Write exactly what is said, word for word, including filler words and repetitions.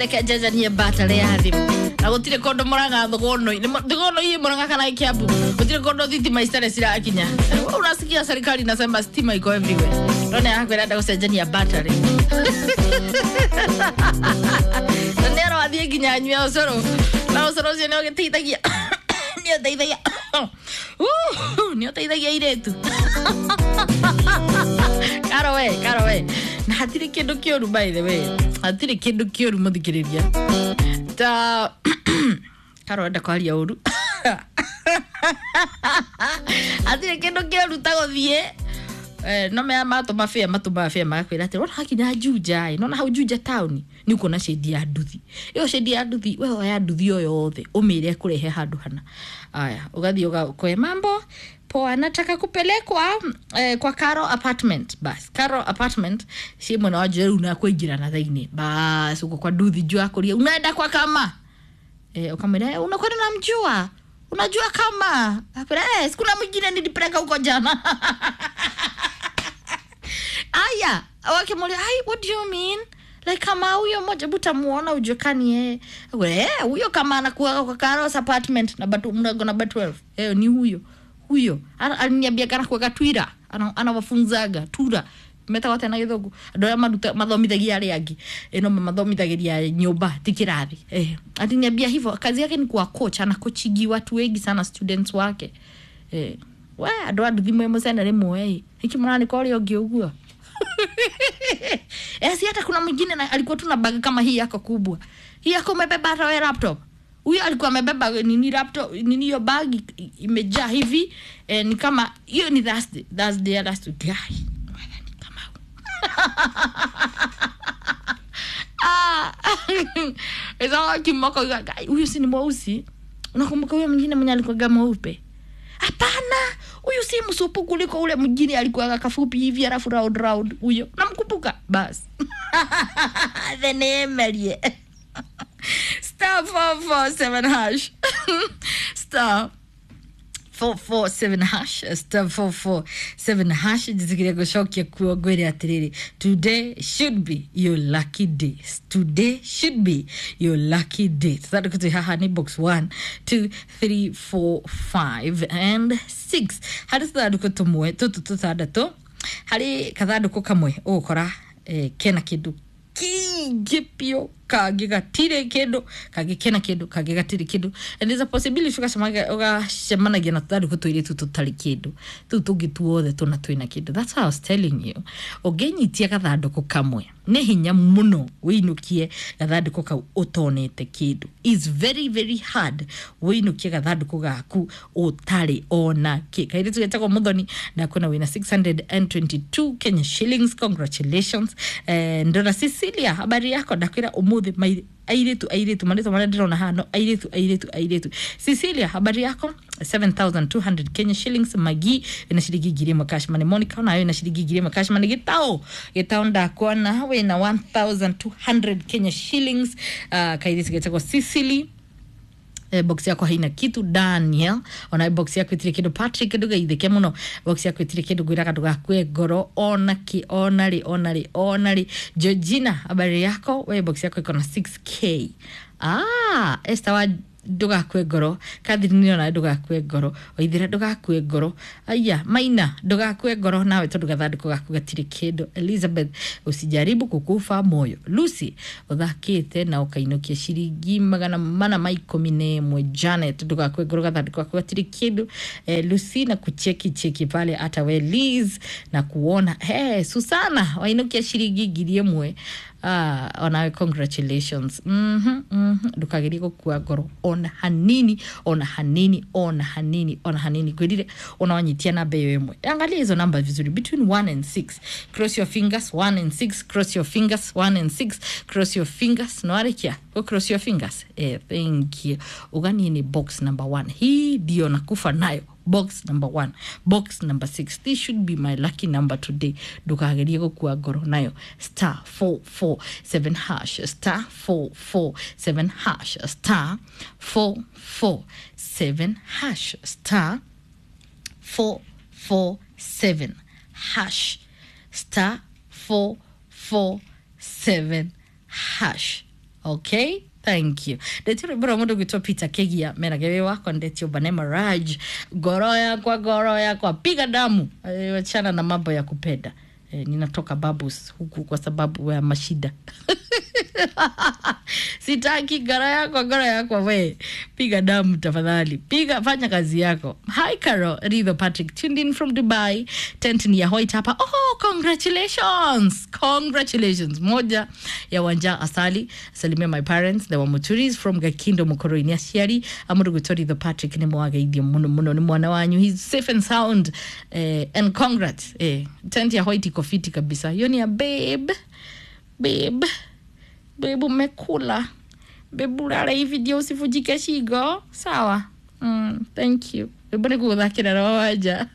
Reke njenjanie battery ya thimũ na gũtirĩ kũndũ Mũrang'a thũgũnũ thũgũnũ ii Mũrang'a kana Kiambu gũtirĩ kũndũ thitima citarĩ cirakinya. Wewe unasikia serikali inasema stima iko everywhere, none yako ĩrenda gũcenjania battery na nĩ arathiĩ nginya anyue ũcũrũ na ũcũrũ ũcio nĩ ũgĩteithagia nĩ ũteithagia nĩ ũteithagia airĩtu. Karo we, karo we, na hatirĩ kĩndũ kĩũru, by the way, hatirĩ kĩndũ kĩũru mũthikĩrĩria ta karo enda kwaria ũru, hatirĩ kĩndũ kĩũru ta gũthiĩ. Eh, no mea matũma bĩa matũmaga bĩa magakwĩra atĩ wona hakinya Juja ĩ nona hau Juja town nĩ ũkuona shade ya nduthi ĩyo, shade ya nduthi, we oya nduthi o yothe ũmĩre kũrehe handũ hana. Aya, ũgathiĩ ũgakoe mambo poa, nataka kupelekwa eh, kwa Caro Apartment. Bas, Caro Apartment si mwena wa Juja rĩu na na thĩinĩ bas uko kwa nduthi juu akũria unaenda kwa kama eh, ukamwambia eh, unakwenda unamjua, unajua kama akwambia eh, sikuna mwingine nilipeleka huko jana. Aya, wakimuuliza, ai, what do you mean, like kama huyo mmoja butamuona ujue kani yeye? Eh, huyo kama anakuwa kwa Carlos Apartment namba tu mlango namba kumi na mbili, eh, ni huyo huyo. Aliniambia kana kuweka Twitter anawafunzaga tura metagwo atĩa na gĩthũngũ andũ arĩa maruta mathomithagia arĩa angĩ ĩno mamathomithagĩria nyũmba ti kĩrathi. Eh, aliniambia hivyo kazi yake ni kuwa coach, anakochingi watu wengi sana, students wake. Eh, we andũ a nduthi mwĩ mũcene rĩmwe ĩ hiki mũranĩka ũrĩa ũngĩ ũguo. Eh, si hata kuna mwingine na alikuwa tu na bag kama hii yako kubwa, hii yako umebeba hata wewe laptop. Huyo alikuwa amebeba nini, laptop nini, hiyo bag imejaa hivi. Eh, ni kama hiyo ni Thursday, Thursday ya last week guy ni kama ah Eza kimoko, huyu si ni mweusi? Unakumbuka huyo mwingine mwenye alikuwa mweupe? Hapana, huyu si msupu kuliko ule mwingine alikuwa kafupi hivi alafu round round, huyo namkumbuka. Bas, the name elie star four four seven hash, star four four seven hash, star four four seven hash. Njitikiria gucokia kuo ngwire atiriri, today should be your lucky day, today should be your lucky day. Tuthandũkũ twĩ haha nĩ box one, two, three, four, five and six. Harĩ tũthandũkũ tũmwe tũtũ tũtandatũ, harĩ kathandũkũ kamwe ũgũkora eh, kena kĩndũ kingĩ biũ, kangĩ gatirĩ kĩndũ, kangĩ kena kĩndũ, kangĩ gatirĩ kĩndũ, and there's a possibility ũgacemanagia na tũthandũkũ tũirĩtu tũtarĩ kĩndũ, tũu tũngĩ tuothe tũna twĩna kĩndũ. That's how I was telling you, ũngĩnyitia gathandũkũ kamwe nĩ hinya mũno wĩinũkie gathandũkũ kau ũtonete kĩndũ. Is very very hard wĩinũkie gathandũkũ gaku ũtarĩ ona kĩ. Kairĩtu getagwo Mũthoni na kwĩna wĩna six hundred twenty-two Kenya shillings, congratulations. Eh, ndona Cecilia, habari yako? Ndakwĩra ũmũthĩ airĩtu airĩtu marĩtwa marĩa ndĩrona haha no airĩtu airĩtu airĩtu. Cecilia, habari yako? seven thousand two hundred Kenya shillings. Magi wĩna ciringi ngiri ĩmwe cash money. Monica onayo wĩna ciringi ngiri ĩmwe cash money. Gĩtaũ, gĩtaũ ndakuona wĩna one thousand two hundred Kenya shillings. uh, kairĩtu getagwo Cecily, eh, box yako haina kitu. Daniel ona box yako itire kindu. Patrick, ndugeithike muno, box yako itire kindu. Ngwiraga ndugakue ngoro ona ki ona ri ona ri ona ri. Georgina, habari yako? We box yako iko na six k. Ah, Esther wa, ndugakue ngoro. Catherine ona ndugakue ngoro. Waithira, ndugakue ngoro. Aya, Maina, ndugakue ngoro nawe tondu gathandũkũ gaku gatirĩ kĩndũ. Elizabeth, usijaribu kukufa moyo. Lucy, ũthakĩte na ũkainũkia ciringi magana mana ma ikũmi na ĩmwe. Janet, ndugakue ngoro, gathandũkũ gaku gatirĩ kĩndũ. Eh, Lucy na kucheki cheki pale, hata we Liz na kuona. Hey, Susana wainũkia ciringi ngiri ĩmwe. Ah, onawe congratulations. mhm mhm ndukagerie gukua ngoro ona hanini, ona hanini, ona hanini, ona hanini. Ngwirire ona wanyitia namba iyo ĩmwe, angalia hizo namba vizuri, between one and six, cross your fingers, one and six, cross your fingers, one and six, cross your fingers. No arekia go cross your fingers. Eh, thank you. Uganie ni box number one, hii ndio nakufa nayo, box number one, box number six, this should be my lucky number today. Ndukagerie gukua ngoro nayo. Star four four seven hash, star four four seven hash, star four four seven hash, star four four seven hash, star four four seven hash. Okay, thank you. Ndetio rwimbo rwa mundu gwitwo Peter Kegia menage wi wakwa. Ndetio Banema Raj, ngoro yakwa, ngoro yakwa, piga damu. Eh, wachana na mambo ya kupenda. Eh, ninatoka babus huku kwa sababu ya mashida. Sitaki ngoro yakwa, ngoro yakwa, we piga damu tafadhali, piga, fanya kazi yako. Hi Caro Ridho Patrick, tuned in from Dubai. Tent ni ya white hapa. Oh, congratulations, congratulations. Moja ya Wanja Asali, salimia my parents, the Wamuturis from Gakindo Mukoroini. Aciari amuruguto Ridho Patrick ni mwageithio muno muno, ni mwana wanyu, he's safe and sound. Eh, and congrats. Eh, tent ya white iko fiti kabisa. Hiyo ni ya babe, babe, babe, umekula babe, ulale hivi ndio usivunjike shingo, sawa? Mm, thank you. Rwimbo nĩ gũgũthakĩra rwa Wanja.